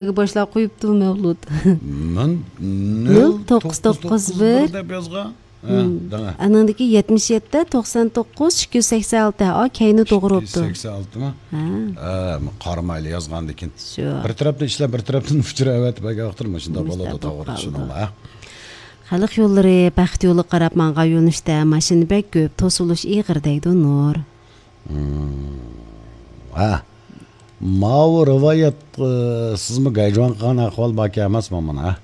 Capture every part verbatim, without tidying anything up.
باشلاپ قويۇپتۇ مەۋلۇت. مەن نۆل توققۇز توققۇز بىر دەپ يازغان. ھە، دەڭە. ئانىڭدىكى يەتمىش يەتتە، توقسان توققۇز، ئىككى يۈز سەكسەن ئالتە. ئا، كەينى توغرا بوپتۇ. ئىككى يۈز سەكسەن ئالتىمۇ؟ ھە. ھە، قارىمايلى يازغاندىكىن. شۇ. بىر تەرەپتىن ئىشلەپ، بىر تەرەپتىن ئۇچۇر ئەۋەتىپ ئەگەر ۋاقىتتا مۇشۇنداق بولىدۇ، توغرا چۈشىنىڭلار. خەلق يوللىرى بەخت يولىغا قاراپ ماڭغان يۆنىلىشتە ماشىنا بەك كۆپ، توسۇلۇش ئېغىر دەيدۇ نۇر. ھە. ماۋۇ رىۋايەت، ئى، سىزمۇ گايجۇاڭ قىلغان ئەھۋال باركەن ئەمەسمۇ مانا؟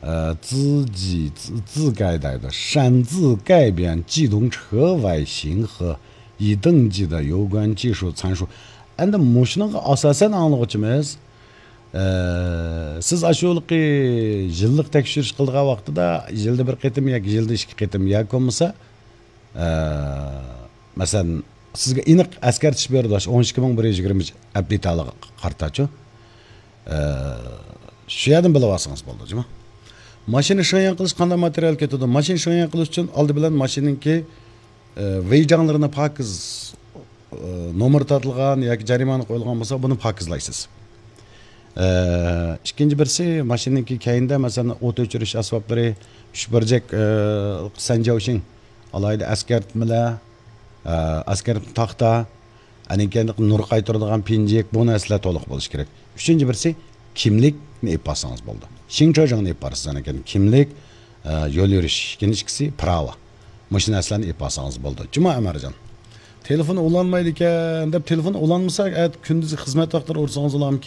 ئە، 自己، 自، 自改 دەيدۇ. 擅自改变机动车外形和已登记的有关技术参数. ئەمدى مۇشۇنىڭغا ئاساسەن ئاڭلىغۇچىمىز، ئە، سىز ئاشۇ يىلقى يىللىق تەكشۈرۈش قىلىدىغان ۋاقتىدا يىلدا بىر قېتىم ياكى يىلدا ئىككى قېتىم ياكى بولمىسا، ئە، مەسىلەن، سىزگە ئېنىق ئەسكەرتىش بېرىدۇ، ئون ئىككى مىڭ بىر يۈز يىگىرمە ئەپدېتالىغا قارىتا شۇ. ئە، شۇ يەردىن بىلىۋالسىڭىز بولدى، جۇمۇ. ماشىنا شېڭيەن قىلىش قانداق ماتېرىيال كېتىدۇ؟ ماشىنا شېڭيەن قىلىش ئۈچۈن ئالدى بىلەن ماشىنىنىڭكى، ئە، ۋېيجاڭلىرىنى پاكىز، ئە، نومۇر تارتىلغان ياكى جەرىمانە قويۇلغان بولسا، بۇنى پاكىزلايسىز. ئە، ئىككىنچى بىرسى، ماشىنىنىڭكى كەينىدە، مەسىلەن، ئوت ئۆچۈرۈش ئەسۋابلىرى، ئۈچ بۇرجەك، ئە، سەنجاۋشىڭ، ئالاھىدە ئەسكەرتمىلەر، ئە، ئەسكەرتمە تاختا، ئەنىڭ كەينىدە نۇر قايتۇرىدىغان پىنجىك، بۇ نەرسىلەر تولۇق بولۇشى كېرەك. ئۈچىنچى بىرسى، كىملىكنى ئېلىپ بارسىڭىز بولدى. شىڭچېجىڭنى ئېلىپ بارىسىز، ئەنىڭ كەينىدە كىملىك، ئە، يول يۈرۈش، كېيىنكىسى پىراۋا. مۇشۇ نەرسىلەرنى ئېلىپ بارسىڭىز بولدى. جۇمۇ ئەمەرجان. تېلېفون ئۇلانمايدىكەن دەپ، تېلېفون ئۇلانمىسا، ئەتە كۈندۈزى خىزمەت ۋاقىتلىرى ئۇرسىڭىز ئۇلارمۇ